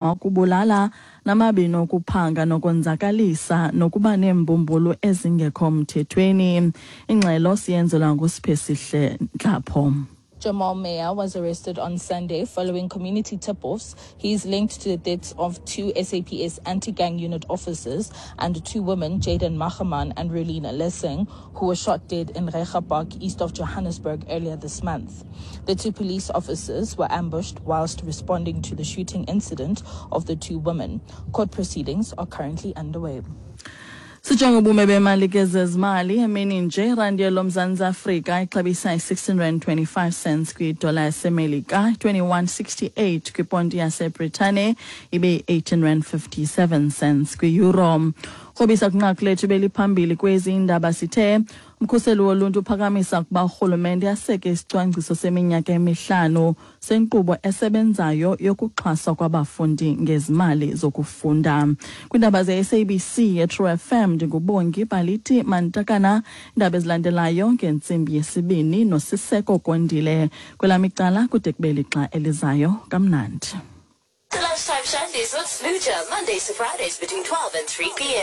Okubulala namabini okuphanga nokonzakalisa nokuba neembumbulu ezingekho mthethweni. Ingxelo siyenzelwa nguSiphesihle Ntlapho. Jamal Meyer was arrested on Sunday following community tip-offs. He is linked to the deaths of two SAPS anti-gang unit officers and two women, Jaden Mahaman and Rulina Lessing, who were shot dead in Reiger Park, east of Johannesburg, earlier this month. The two police officers were ambushed whilst responding to the shooting incident of the two women. Court proceedings are currently underway. Sijonge ubume bemali ke zezimali emini nje. Irandi yelomZantsi Afrika ixabisa i-625 cents kwidola yaseMelika, 21.68 kwiponti yaseBritane, ibe yi-18 rand 57 cents kwi-euro. Krobisa kwinqaku lethu beliphambili kwezi indaba, sithe umkhuseli woluntu uphakamisa ukuba urhulumente aseke isicwangciso seminyaka emihlanu senkqubo esebenzayo yokuxhaswa kwabafundi ngezimali zokufunda. Kwiindaba ze-SABC yeTrue FM, ndinguBongi Baliti Mantakana. Iindaba ezilandelayo ngentsimbi yesibini noSiseko Kondile. Kwelam icala, kude kube lixa elizayo, kamnandi. The Lunchtime Shandies with Smooja, Mondays to Fridays between 12 and 3 p.m.